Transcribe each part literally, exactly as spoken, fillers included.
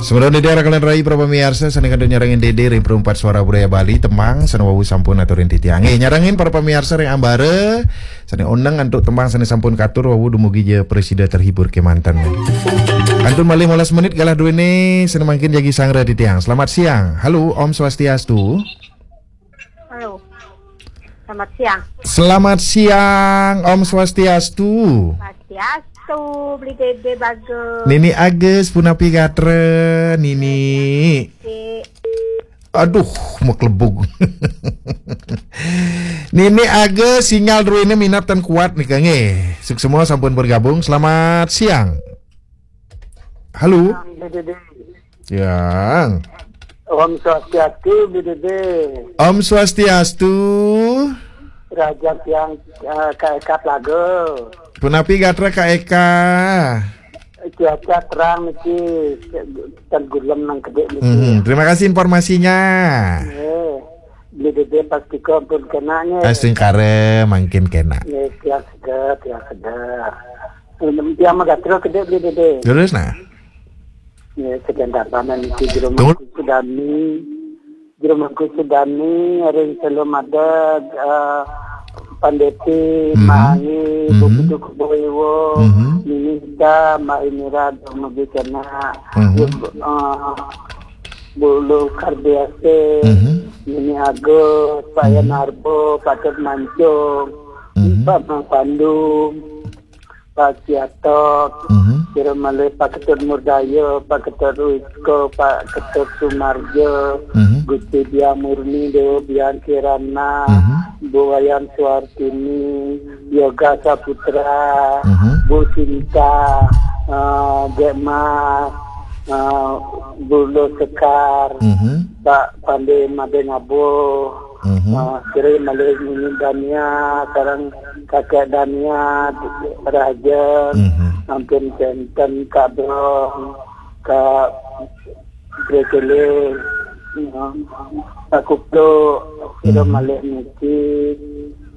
Semeton Dédé, raka lan rai para pamiarsa sané kantun nyarengin Dédé ring Perempat Suara Budaya Bali, tembang sané wau sampun aturin titiang. Nggih, nyarengin para pamiarsa ring ambara sané oneng antuk tembang sané sampun katur wau, dumugi ja prasida terhibur kémanten. Kantun malih molas menit galah duéné sané mangkin jagi sangra titiang. Selamat siang. Halo, Om Swastiastu. Halo. Selamat siang. Selamat siang, Om Swastiastu. Swastiastu, Beli Dédé Bagus. Nini Agus, punapi gatra, Nini? Cik. Aduh, maklebug. Nini Agus, sinyal druéné minab tan kuat nika nggih. Suksma sampun bergabung. Selamat siang. Halo. Beli Dédé. Siang. Om Swastiastu, Beli Dédé. Om Swastiastu. Raja tiang eh, Kak Eka Plaga. Punapi gatra Kak Eka? Cuaca terang niki, tan gulem nang kedék niki. Mhm, terima kasih informasinya. Eh, Beli Dédé pastika pun kena nggih. Astungkara mangkin kena. Nggih, tiang seger, tiang seger. Tiang magatra kedék, Beli Dédé. Terus nah. Nggih, sedang dapanan niki Jero Tunggu. Mangku Sudani. Jero Mangku Sudani, ring Selo Madeg, eh, Pandeti, Mhm. Mangi, Mhm. Bukudu Kuboiwo, Mhm. Minita, Mbak Inira, dumugi kena. Mhm. Jero, eh, Bulu Kardiase, Mhm. Nini Agus, Pak Mhm. Yanarbo, Patut Mancung, Mhm. Pak Mang Pandu, Pak Siatok, Mhm. Jero malih Pak Ketut Murdaya, Pak Ketut Wisko, Pak Ketut Sumarjo, Mhm. Gusti Biang Murni, Dewa Biang Kirana, Mhm. Bu Wayan Suartini, Yoga Saputra, Mhm. Bu Sinta, eh, Dék Mas, eh, Bu Lo Sekar, Mhm. Pak Pandé Madé Ngabo, Mhm. eh, Sri malih Nini Dania, sareng Kakek Dania, Raja, Mhm. sampun kénten Kak Brong, Kak Brekele, eh, Kak Kuplo, sira Mhm. malih niki,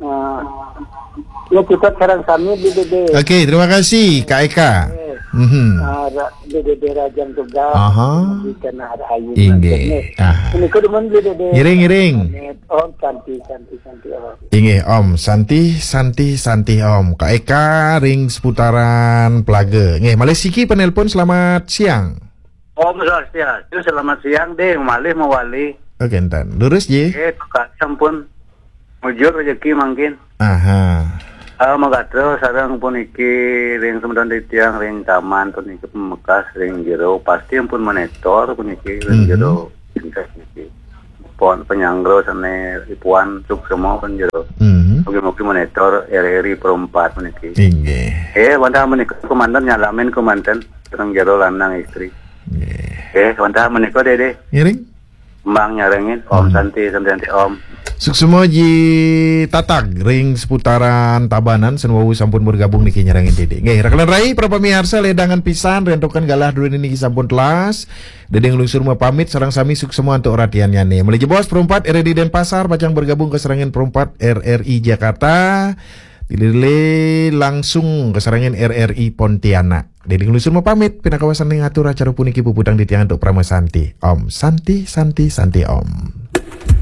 eh, ya, kita sareng sami, Beli Dédé. Oke, terima kasih Kak Eka. Mhm. Eh, ra-, Beli Dédé Rajang Tugas, Aha. di Tanah Rahayu. Inggih. Ah. Menika dumun, Beli Dédé. Ngiring, ngiring. Om Santi, Santi, Santi, Om. Inggih, Om. Santi, Santi, Santi, Om. Kak Eka ring seputaran Plaga. Nggih, malih siki penelpon, selamat siang. Om Swastiastu, selamat siang, Ding. Malih mawali. Oke, enten. Lurus, Ji. Eh, Kak sampun mujur rejeki mangkin. Aha. Ah, magatra sareng puniki ring semeton titiang ring taman puniki pamekas ring jero pasti ampun monitor puniki ring Mhm. jero pintes niki. Pon penyanggra sane ipuan suksema pun jero. Mhm. Mugi-mugi monitor R R I Pro empat puniki. Inggih. Eh, wantah menika kemanten nyalamin kemanten sareng jero lanang istri. Nggih. Eh, wantah menika Dede. Ngiring? Kembang nyarengin Om Hmm. Santi, Santi, Santi, Om. Suksema Ji Tatag ring seputaran Tabanan, sane wau sampun bergabung niki nyarengin Dede. Nggih, raka lan rai, para pamiarsa, ledangan pisan rentokan galah druene niki sampun telas. Dede nglungsur mapamit, sareng sami suksema antuk ratiannyane. Malih jebos Pro empat R R I Denpasar pacang bergabung kasarengin Pro empat R R I Jakarta. Dilih-dilih langsung kasarengin R R I Pontianak. Dede nglungsur mapamit, pinaka wasana ngatur acara puniki puputang titiang antuk parama santi. Om Santi, Santi, Santi, Om.